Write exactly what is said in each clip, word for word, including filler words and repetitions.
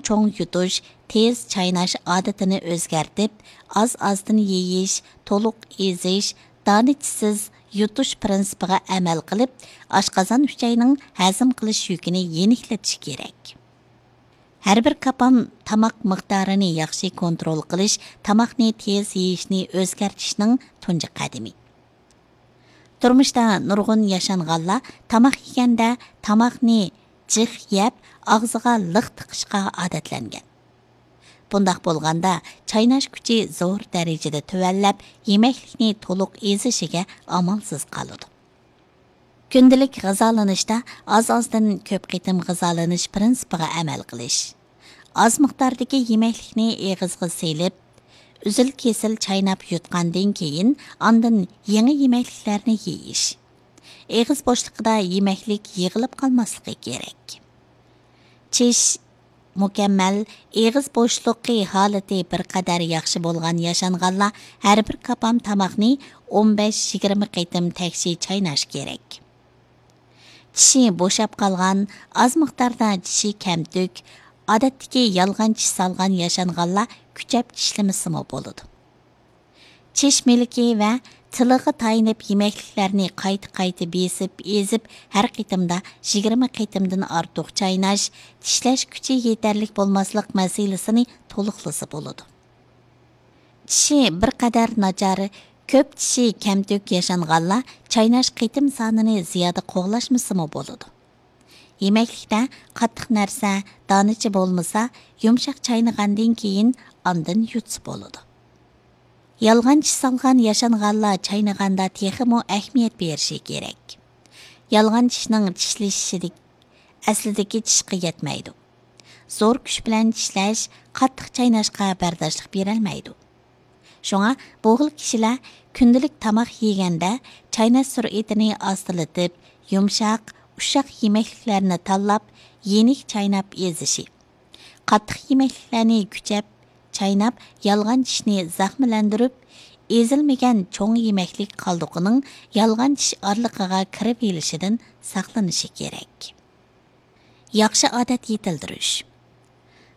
چوڭ يۇتۇش، تېز چايناش ئادىتىنى ئۆزگەرتىپ، ئاز-ئازدىن يېيىش، تولۇق ئېزىش، دانىچىسىز يۇتۇش پىرىنسىپىغا ئەمەل قىلىپ، ئاشقازان ئۈچەينىڭ ھەزىم قىلىش يۈكىنى يېنىكلىتىش كېرەك. ھەر بىر كاپام تاماق مىقدارىنى ياخشى كونترول قىلىش، تاماقنى تېز يېيىشنى ئۆزگەرتىشنىڭ تۇنجى قەدىمى. تۇرمۇشتا نۇرغۇن ياشانغانلار تاماق يېگەندە تاماقنى جىق يەپ، ئاغزىغا لىق تىقىشقا ئادەتلەنگەن. بۇنداق بولغاندا، چايناش كۈچى زور دەرىجىدە تۆۋەنلەپ، يېمەكلىكنى تولۇق ئېزىشىگە ئامالسىز قالىدۇ. كۈندىلىك غىزالىنىشتا ئاز-ئازدىن كۆپ قېتىم غىزالىنىش پىرىنسىپىغا ئەمەل قىلىش. ئاز مىقداردىكى يېمەكلىكنى ئېغىزغا سېلىپ، ئۈزۈل-كېسىل چايناپ يۇتقاندىن كېيىن، ئاندىن يېڭى يېمەكلىكلەرنى يېيىش. ئېغىز بوشلۇقىدا يېمەكلىك يىغىلىپ قالماسلىقى كېرەك. چىش مۇكەممەل، ئېغىز بوشلۇقى ھالىتى بىر قەدەر ياخشى بولغان ياشانغانلار ھەر بىر كاپام تاماقنى ئون بەش يىگىرمە قېتىم تەكشى چايناش كېرەك. چىشى بوشاپ قالغان، ئاز مىقداردا چىشى كەمتۈك، ئادەتتىكى يالغان چىش سالغان ياشانغانلار كۈچەپ چىشلىمىسىمۇ بولىدۇ. چىش مىلىكى ۋە تىلىغا تايىنىپ يېمەكلىكلەرنى قايتا-قايتا بېسىپ، ئېزىپ، ھەر قېتىمدا يىگىرمە قېتىمدىن ئارتۇق چايناش، چىشلەش كۈچى يېتەرلىك بولماسلىق مەسىلىسىنى تولۇقلىسا بولىدۇ. چىشى بىر قەدەر ناچار، كۆپ چىشى كەمتۈك ياشانغانلار چايناش قېتىم سانىنى زىيادە قوغلاشمىسىمۇ بولىدۇ. يېمەكلىكتە قاتتىق نەرسە، دانىچە بولمىسا، يۇمشاق چاينىغاندىن كېيىن ئاندىن يۇتسا بولىدۇ. يالغان چىش سالغان ياشانغانلار چاينىغاندا تېخىمۇ ئەھمىيەت بېرىشى كېرەك. يالغان چىشنىڭ چىشلىشىشىدىك-، ئەسلىدىكى چىشقا يەتمەيدۇ. زور كۈچ بىلەن چىشلەش قاتتىق چايناشقا بەرداشلىق بېرەلمەيدۇ. شۇڭا بۇ خىل كىشىلەر كۈندىلىك تاماق يېگەندە چايناش سۈرئىتىنى ئاستىلىتىپ، يۇمشاق، ئۇششاق يېمەكلىكلەرنى تاللاپ، يېنىك چايناپ ئېزىشى، قاتتىق يېمەكلىكلەرنى كۈچەپ چايناپ، يالغان چىشنى زەخىملەندۈرۈپ، ئېزىلمىگەن چوڭ يېمەكلىك قالدۇقىنىڭ يالغان چىش ئارىلىقىغا كىرىۋېلىشىدىن ساقلىنىشى كېرەك. ياخشى ئادەت يېتىلدۈرۈش.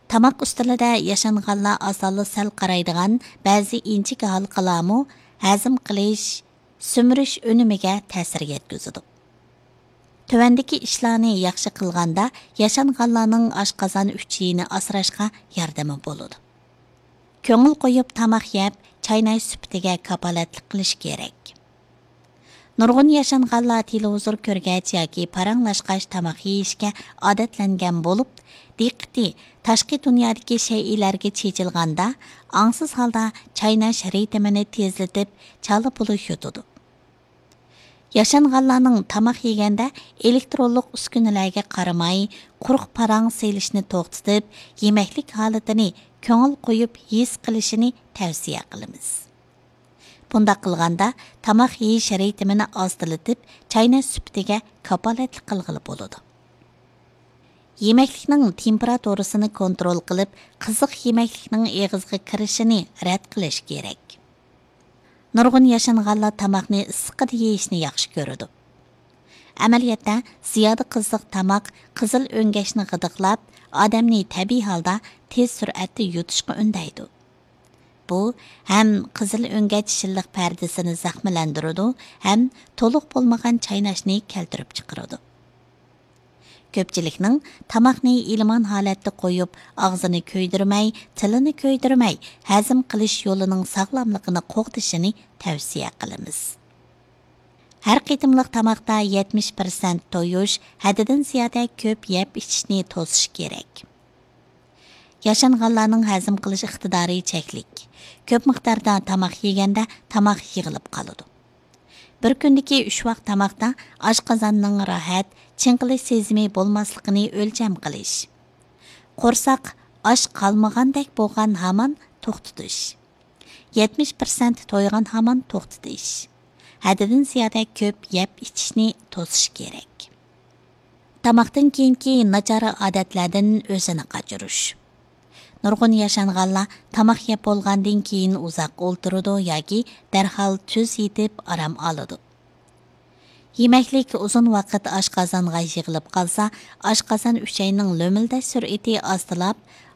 تاماق ئۈستىلىدە ياشانغانلار ئاسانلا سەل قارايدىغان بەزى ئىنچىكە ھالقىلارمۇ ھەزىم قىلىش، سۈمۈرۈش ئۈنۈمىگە تەسىر يەتكۈزىدۇ. تۆۋەندىكى ئىشلارنى ياخشى قىلغاندا ياشانغانلارنىڭ ئاشقازان ئۈچىيىنى ئاسراشقا ياردىمى بولىدۇ. كۆڭۈل قويۇپ تاماق يەپ، چايناش سۈپىتىگە كاپالەتلىك قىلىش كېرەك. نۇرغۇن ياشانغانلار تېلېۋىزور كۆرگەچ ياكى پاراڭلاشقاچ تاماق يېيىشكە ئادەتلەنگەن بولۇپ، دىققىتى تاشقى دۇنيادىكى شەيئىلەرگە چېچىلغاندا، ئاڭسىز ھالدا چايناش رىتىمىنى تېزلىتىپ، چالا بۇلا يۇتىدۇ. ياشانغانلارنىڭ تاماق يېگەندە ئېلېكترونلۇق ئۈسكۈنىلەرگە قارىماي، قۇرۇق پاراڭ سېلىشنى توختىتىپ، يېمەكلىك ھالىتىنى كۆڭۈل قويۇپ ھېس قىلىشىنى تەۋسىيە قىلىمىز. بۇنداق قىلغاندا، تاماق يېيىش رىتىمىنى ئاستىلىتىپ، چايناش سۈپىتىگە كاپالەتلىك قىلغىلى بولىدۇ. يېمەكلىكنىڭ تېمپېراتۇرىسىنى كونترول قىلىپ، قىزىق يېمەكلىكنىڭ ئېغىزغا كىرىشىنى رەت قىلىش كېرەك. نۇرغۇن ياشانغانلار تاماقنى ئىسسىقىدا يېيىشنى ياخشى كۆرىدۇ. ئەمەلىيەتتە، زىيادە قىزىق تاماق قىزىل ئۆڭگەچنى غىدىقلاپ، ئادەمنى تەبىئىي ھالدا تېز سۈرئەتتە يۇتۇشقا ئۈندەيدۇ. بۇ ھەم قىزىل ئۆڭگەچ شىللىق پەردىسىنى زەخىملەندۈرىدۇ، ھەم تولۇق بولمىغان چايناشنى كەلتۈرۈپ چىقىرىدۇ. كۆپچىلىكنىڭ تاماقنى ئېلىمان ھالەتتە قويۇپ، ئاغزىنى كۆيدۈرمەي، تىلىنى كۆيدۈرمەي، ھەزىم قىلىش يولىنىڭ ساغلاملىقىنى قوغدىشىنى تەۋسىيە قىلىمىز. ھەر قېتىملىق تاماقتا يەتمىش پىرسەنت تويۇش، ھەددىدىن زىيادە كۆپ يەپ ئىچىشنى توسۇش كېرەك. ياشانغانلارنىڭ ھەزىم قىلىش ئىقتىدارى چەكلىك. كۆپ مىقداردا تاماق يېگەندە تاماق يىغىلىپ قالىدۇ. بىر كۈندىكى ئۈچ ۋاق تاماقتا ئاشقازاننىڭ راھەت، چىڭقىلىش سېزىمى بولماسلىقىنى ئۆلچەم قىلىش. قورساق ئاچ قالمىغاندەك بولغان ھامان توختىتىش. يەتمىش پىرسەنت تويغان ھامان توختىتىش. ھەددىدىن زىيادە كۆپ يەپ ئىچىشنى توسۇش كېرەك. تاماقتىن كېيىنكى ناچار ئادەتلەردىن ئۆزىنى قاچۇرۇش. نۇرغۇن ياشانغانلار تاماق يەپ بولغاندىن كېيىن ئۇزاق ئولتۇرىدۇ ياكى دەرھال تۈز يېتىپ ئارام ئالىدۇ. يېمەكلىك ئۇزۇن ۋاقىت ئاشقازانغا يىغىلىپ قالسا، ئاشقازان ئۈچەينىڭ لۆمۈلدەش سۈرئىتى ئاستىلاپ،